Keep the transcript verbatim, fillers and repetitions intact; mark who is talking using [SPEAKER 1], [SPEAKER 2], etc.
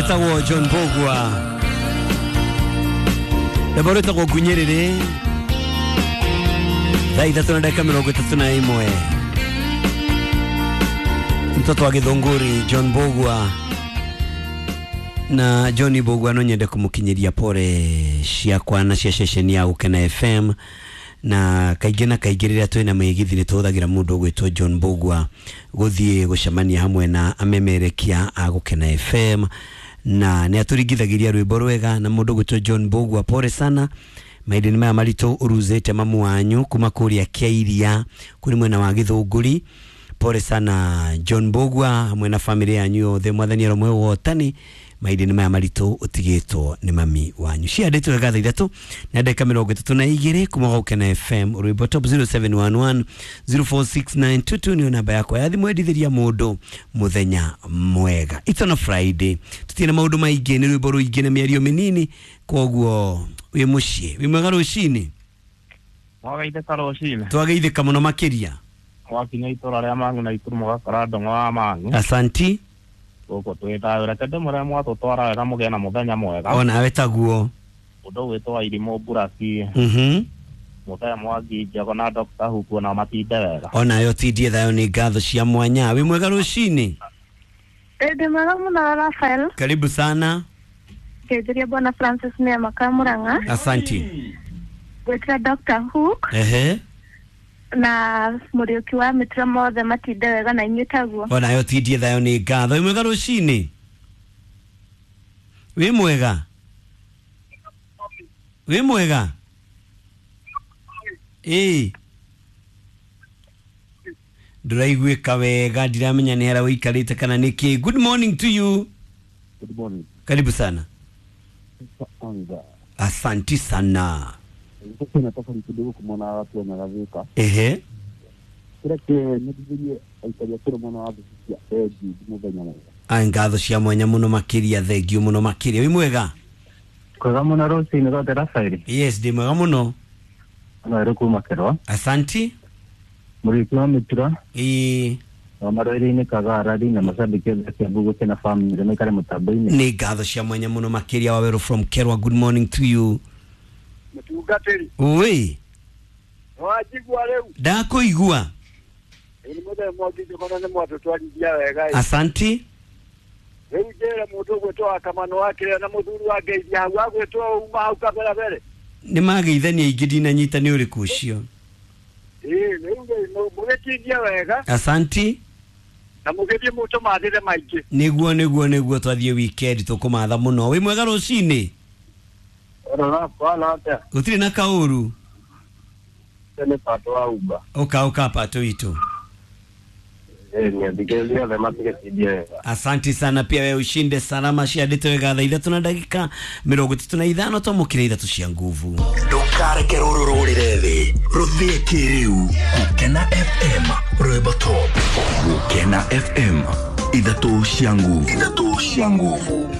[SPEAKER 1] Etagwo John Mbugua rwĩmbo rwĩtagwo Ngunyĩrĩrĩ thaa ithatũ na ndagĩka mĩrongo ĩtatũ na ĩmwe. Mtoto wa Githunguri John Mbugua na John Mbugua no nyende kumukinyiria pore ciakwa na cia ceceni ya Gukena F M na kaingĩ na kaingĩ rĩrĩa twĩna mĩgithi nĩ tũhũthagĩra mũndũ ũgwĩtwo John Mbugua gũthiĩ gũcemania hamwe na amemerekia a Gukena F M na nĩ atũringithagĩria rwĩmbo rwega na mũndũ ũgwĩtwo John Mbugua pore sana mahinda-inĩ maya maritũ ũruzĩte mamu wanyu kuma kũrĩa Kĩairia kũrĩ mwena wa Githunguri. Pore sana John Mbugua hamwe na family yanyu yothe, mwathani aromwe wotani mahinda-inĩ maya maritũ ũtigĩtwo nĩ mami wanyu. Ciandĩtwo wega thaa ithatũ na ndagĩka mĩrongo ĩtatũ na igĩrĩ kuma Gukena F M rwĩmbo top zero seven one one zero four six nine two two nĩyo namba yakwa ya thimũ endithĩria mũndũ mũthenya mwega. It's on a Friday, tũtirĩ na maũndũ maingĩ, nĩ rwĩmbo rũingĩ na mĩario mĩnini, koguo wĩ mũciĩ wĩ mwega rũcinĩ.
[SPEAKER 2] Mwageithĩka rũcinĩ.
[SPEAKER 1] Twageithĩka mũno makĩria.
[SPEAKER 2] Mwakinya itũra rĩa Mang'u na Ikuru mũgakora ndong'o wa Mang'u.
[SPEAKER 1] Asanti.
[SPEAKER 2] Gũkũ twĩ thayũ, reke ndĩmũre mwatũtwara wega mũgĩe na mũthenya mwega.
[SPEAKER 1] Onawe taguo.
[SPEAKER 2] Ũndũ ũgwĩtwo Wairimũ Mburaki.
[SPEAKER 1] Mhm.
[SPEAKER 2] Mũthee Mwangi Njogo na Doctor Huku nao matinde wega.
[SPEAKER 1] Onawe ũtindie thayũ, nĩ ngatho cia mwanya. Wĩ mwega rũcinĩ?
[SPEAKER 3] Ndĩ mwega mũno Raphael.
[SPEAKER 1] Karibu sana.
[SPEAKER 3] Ngeithĩria Bwana Francis Neema Kamurang'a.
[SPEAKER 1] Asanti.
[SPEAKER 3] Gwĩtĩra Doctor Hook.
[SPEAKER 1] Ehe.
[SPEAKER 3] Na Mũriũki wa mĩtĩra mothe matinde wega na inyuĩ taguo.
[SPEAKER 1] Onawe ũtindie thayũ, nĩ ngatho. Wĩ mwega rũcinĩ? Wĩ mwega? Wĩ mwega? Ĩĩ. Ndũraiguĩka wega, ndiramenya nĩ harĩa ũikarĩte kana nĩ kĩ. Good morning to you.
[SPEAKER 4] Good morning.
[SPEAKER 1] Karibu sana.
[SPEAKER 4] Kwanza.
[SPEAKER 1] Asanti sana.
[SPEAKER 4] Sasa nataka kidogo kumwona watu wanalalamika.
[SPEAKER 1] Ehe.
[SPEAKER 4] Kila kinyathithĩrie aikari a kĩrĩ mwena wa Busia thengiũ mũthenya mwega.
[SPEAKER 1] Ai ngatho cia mwanya mũno makĩria, thengiũ mũno makĩria. Wĩ mwega?
[SPEAKER 5] Kwega mũno rũcinĩ rwothe Raphael.
[SPEAKER 1] Yes, ndĩ mwega mũno.
[SPEAKER 5] Ano kuma Kerwa.
[SPEAKER 1] Asanti.
[SPEAKER 5] Mũriũki wa mĩtura.
[SPEAKER 1] Ĩĩ.
[SPEAKER 5] Na marwĩrĩ-inĩ Kagarari na macambĩki othe a Kiambu Gukena family maikare mũtambo-inĩ.
[SPEAKER 1] Nĩ ngatho cia mwanya mũno makĩria Wawerũ from Kerwa. Good morning to you.
[SPEAKER 4] Mũtungatĩri.
[SPEAKER 1] Oi.
[SPEAKER 4] Wajigua rĩu?
[SPEAKER 1] Ndakũigua.
[SPEAKER 4] Nĩ mũthenya Mwangi Njogo nĩ mwatũtwarithia wega.
[SPEAKER 1] Asanti.
[SPEAKER 4] Rĩu njĩre mũndũ ũgwĩtwo wa Kamano wa Kĩrĩa na mũthuri wa Ngeithia hau agwĩtwo uma hau kabere mbere.
[SPEAKER 1] Nĩ mageithania aingĩ ndinanyita nĩ ũrĩkũ ũcio.
[SPEAKER 4] Ĩĩ, rĩu mũgĩtindia wega.
[SPEAKER 1] Asanti.
[SPEAKER 4] Na mũgĩthiĩ mũtũmathĩre maingĩ.
[SPEAKER 1] Nĩguo nĩguo nĩguo twathiĩ weekend tũkũmatha mũno. Wĩ mwega rũcinĩ? Gũtirĩ na kaũru.
[SPEAKER 5] Nĩ pato wa Uber.
[SPEAKER 1] Ũka ũka pato witũ. Asante sana pia wewe ushinde salama ciandĩtwo wega thaa ithatũ na ndagĩka mĩrongo ĩtatũ na ithano twamũkĩra ithatũ cia nguvu.
[SPEAKER 6] Ndũkareke rũrũ rũrĩre thĩ rũthĩe kĩrĩu. Gukena F M rwĩmbo top. Gukena F M ithatũ cia nguvu. Ithatũ cia nguvu.